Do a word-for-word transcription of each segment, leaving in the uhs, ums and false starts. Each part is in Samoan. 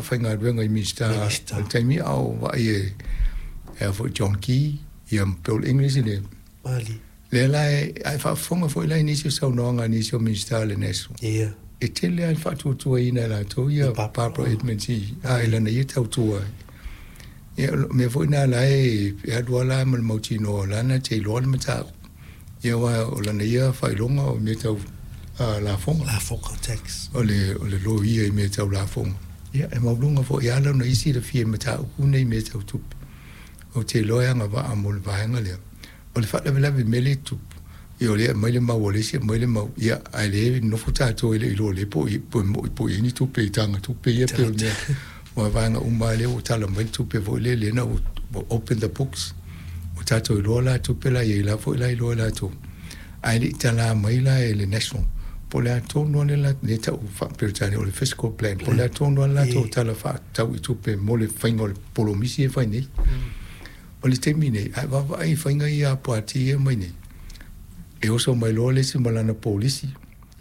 Faafaigaluega i Minisita Minista. O le taimi a o vaai e e a foi John Key ia ma Bill English le Mali. Lea la e ae faafofoga foi la i nisi o saunoaga a nisi o Minisita o le National Ia. e tele lava le faatuatuaina e latou ia Barbara. Barbara Edmonds i a i lana ia tautua. Ia o mea foi na la e e alu ala ma le mautinoa lana te iloa le mataupu. Ia aua o lana ia faailoga o mea tau uh, lafoga. Lafoga tax. O le o le loia i mea tau lafoga. Ia e maualuga foi ala ona isi le fia mataupu nei mea tau tupe. Ou te iloa e agavaa mo le vaega lea. O le faalavelave mea le tupu. Ia o lea aumai le mau a le isi aumai le mau. Ia ae le nofo tatou e le iloa le po i po mo po i ni tupe i tanga tupe ia pe o le mea. Ua vaega uma lea ua tala mai le tupe foi lea lea na ua open the books. Ua tatou iloa la tupe la i la foi la iloa latou. Ae le i tala mai la e le National. Po o le a tonu le la le tau faa-Peretania o le fiscal plan. Po o le a tonu le latou tala faatatau i tupe mo le faiga o le polomisi e fai nei. O le taimi nei, ae vaavaai i faiga ia a pati ia mai nei. E oso mai loa le isi ma lana polisi.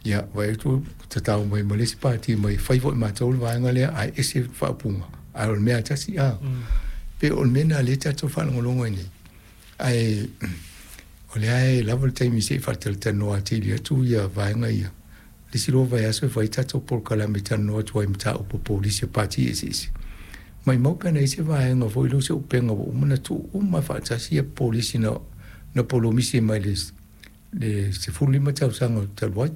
Ia, vaai atu tatau mai ma le isi pati mai fai foi matou le vaega lea ae ese faaupuga. Ae o le mea tasi a. Pe o le mea na lea tatou faalogologo ai nei. Ae o lea e lava le taimi se i faatalatalanoa atili atu ia vaega ia. Le isi loa vaiaso e fai tatou polokalame talanoa atu ai mataupu polisi o pati eseese. Mai mau pe ana i se vaega foi lea o se upega ua uma ona tuu uma faatasi ia polisi na na polomisi mai le le sefulu lima tausaga talu ai.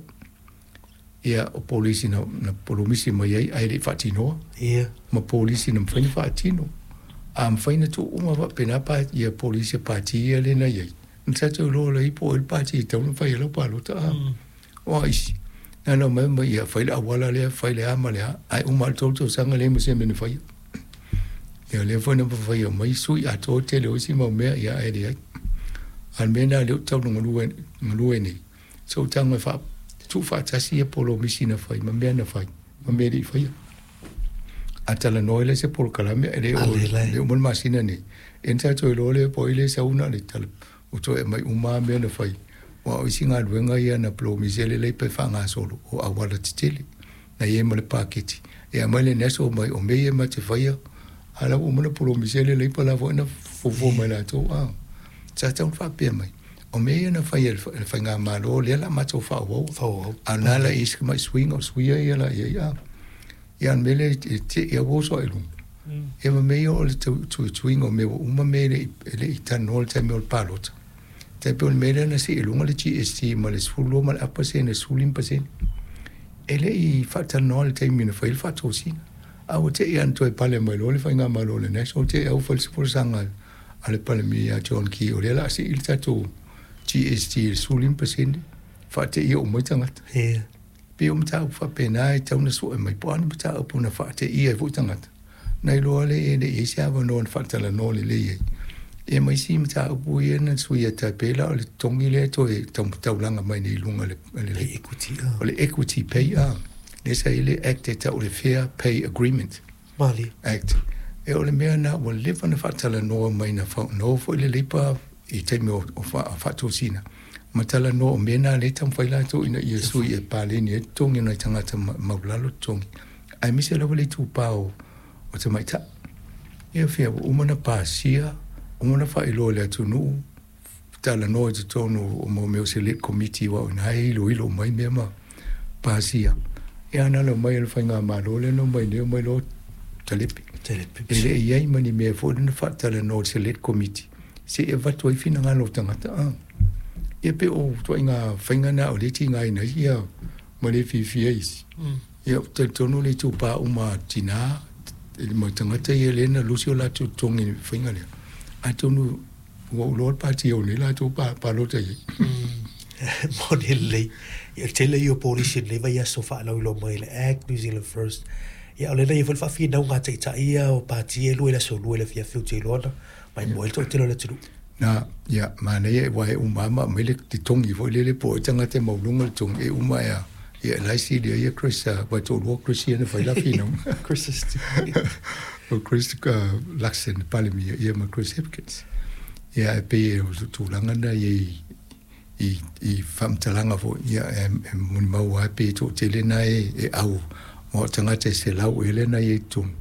Ia o polisi na, na polomisi mai ai ae le i faatinoa Ia. ma polisi na mafai ona faatino. A mafai ona tuu uma faapena pa ia polisi a pati ia lea na i ai. Na tatou iloa lai po o ai le pati e tatau ona fai ai lau palota a. O isi. Na na mai mai ia fai le auala lea, fai le a ma le a, ae uma le tolu tausaga le ma se mea na faia. Ia lea foi na faia mai sui atoa tele o isi mau mea ia ae leai. A le mea na lea ou tau galue galue nei. So tago e faa tuufaatasi ia polomisi na fai ma mea na fai ma mea e le i faia. A talanoa ai le se polokalame e le o le uma le masina nei. E na tatou iloa lea po o ai le sauna le tala o toe mai uma mea na fai. Aua o isi galuega ia na polomisi ai lelei pe faagasolo o auala tetele. Na i ai ma le paketi. E aumai le National mai o mea ia ma te faia. A la ua uma na polomisi ai le Labour la foi na fuafua mai latou a. Sa tatau ona faapea mai. O mea ia na fai e le faigamalo lea la matou faaauau. Faaauau. A o lena la i isi mai suiga o suia ia la i ai a. Ia o le mea lea e te i ua oso ai i luga. Ia ma mea ia o le tuituiga o mea ua uma mea e le i e le i talanoa i le taimi o le palota. Tai pei o le mea lea na sii i luga le G S T ma le sefulu lua ma le afa pasene sefulu lima pasene. E le i faatalanoa i le taimi na fai ai le faatosina. A ua te i ana toe pale mai loa le faigamalo o le National te i au fai le folasaga a le Palemia ia John Key o lea o le a sii le tatou G S T i le sefulu lima pasene faateia uma ai tagata. Ia. Pei o mataupu faapena e tatau ona sue mai po o a ni mataupu na faateia ai foi tagata. Na iloa le e le i ai se avanoa na faatalanoa lelei ai. Ia ma isi mataupu ia na suia tai pei la o le totogi lea e toe taulaga mai nei i luga o le, le, Equity. o le Equity Pay a. Lea sa i le Act e tau o le Fair Pay Agreement Mali. Act. E o le mea na ua leva na faatalanoa mai na na o foi le Labour i taimi o, o faatosina. Ma talanoa o mea na lea e taumafai latou ina ia sui e paleni ai totogi o nai tagata maulalo totogi. Aemaise lava le itupa o, o tamaitai. Ia fia ua uma na pasia, uma na faailoa i le atunuu, talanoa i totonu o mo mea o select committee aua o ina e iloilo mai mea ma pasia. Ia na ala mai e le faigamalo lea na omai nei omai loa talepe. Talepe. E le i ai ma ni mea foi lea na faatalanoa i le select committee se i avatu ai finagalo o tagata a. Ia pe o ituaiga faiga na o lea e tigaina ai ia ma le fiafia isi. Ia ou te talitonu le itupa uma a tina ma tagata ia lea na lusi o latou totogi i le faiga lea. Atonu ua ou iloa le pati au nei latou palota i ai. Moni lelei. Ia tele ia o polisi lenei vaiaso faalauiloa mai le Act New Zealand First. Ia o lena ia foi le faafinauga a taitai ia o pati e lua i le aso lua i le afiafi ou te iloa na maimoa ai le toatele o le atunuu. Na, ia, manaia aua e uma lava ma aumai le totogi foi lele po o ai tagata e maualuga le totogi e uma e a. Ia e la e silia ia Chris, aua e toalua Chris ia na fai la finauga. Chris O Chris uh, Luxon Palemia ia ma Chris Hipkins. Ia e pei o tulaga na ia i i i faamatalaga foi ia e, e molimau lava pe toatele na e, e au ma o tagata e selau ea lea na i ai i totonu.